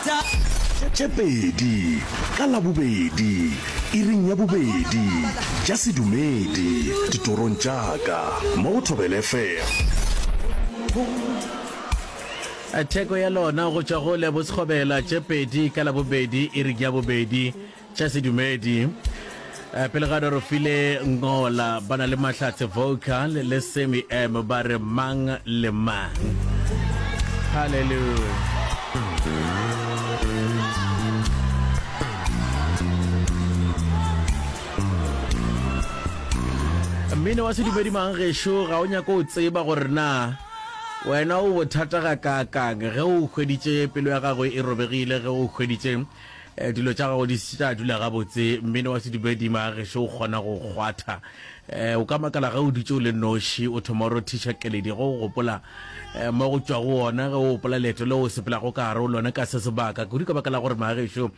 Tše pedi ka Labobedi, iring ya bobedi, tša sedumedi, ditorong tša ka, mo go Thobela FM. Theko ya lona go tšwa go Lebo Sekgobela, tše pedi ka Labobedi, iring ya bobedi, tša sedumedi. Pele ga Dorofile Ngola ba na le Mahlatse Vocal le Sammy M ba re mang le mang. Hallelujah. Mmino wa sedumedi mang gešo ga o nyako o tseba gore na wena o bothata ga kaakang ge o hweditše pelo ya gago e robegile ge o hweditše Eh, dilo tša gago di se tša dula gabotse mmino wa sedumedi magešo o kgona go kgwatha um o ka makala ge o dutše o le noši o thoma o rothiša keledi go o gopola um mo go tšwa go ona ge o gopola leeto le o sepelago ka gare o lone ka se sebaka kudu ka baka la gore magešo.